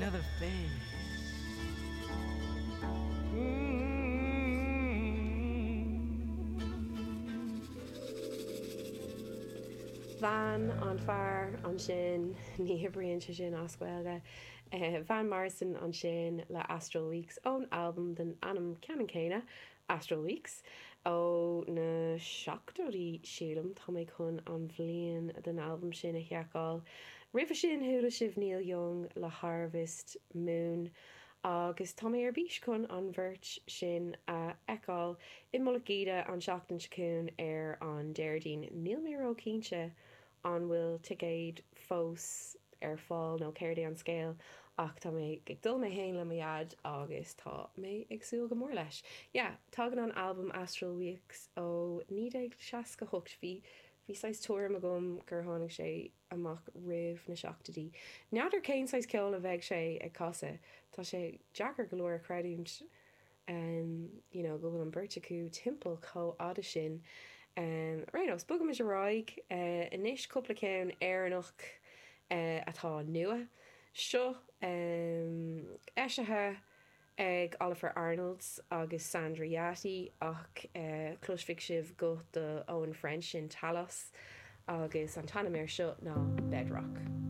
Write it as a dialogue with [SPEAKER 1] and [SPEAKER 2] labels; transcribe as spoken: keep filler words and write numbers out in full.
[SPEAKER 1] Another face.
[SPEAKER 2] Van an fear ansin ní oibríonn sé sin as Gaeilge. Eh, Van Morrison ansin le Astral Weeks ón albam den ainm ceannann céanna Astral Weeks ó na seachtóidí sílim tá mé chun an bhliain den albam sin a sheiceáil. Roimhe sin chuala sibh Neil Young le Harvest Moon agus tá mé ar bís chun an bheirt sin a fheiceáil i Mullach Íde an seachtain seo chugainn ar an Déardaoin. Níl mé ró-chinnte an bhfuil ticéid fós ar fáil nó céard é an scéal ach tá mé ag dul mé féin le mo dhaid agus tá mé ag súil go mór leis. Yeah, tagann an albam Astral Weeks ó naoi déag seasca hocht bhí bhí saghas tuairim agam gur tháinig sé amach roimh na seachtóidí. N'fheadar cén saghas ceoil a bheidh sé ag casadh, Tá sé deacair go leor a chreidiúint um, you know, go bhfuil an bheirt acu timpeall chomh fada sin. Um, ar aon nós, bogaimis ar aghaidh uh, anois cúpla ceann Éireannach uh, atá nua. Seo um, eisithe ag Oliver Arnolds agus Sandra Yati ach uh, cloisfidh sibh guth do Owen French in Talos agus an t-ainm air seo ná Bedrock.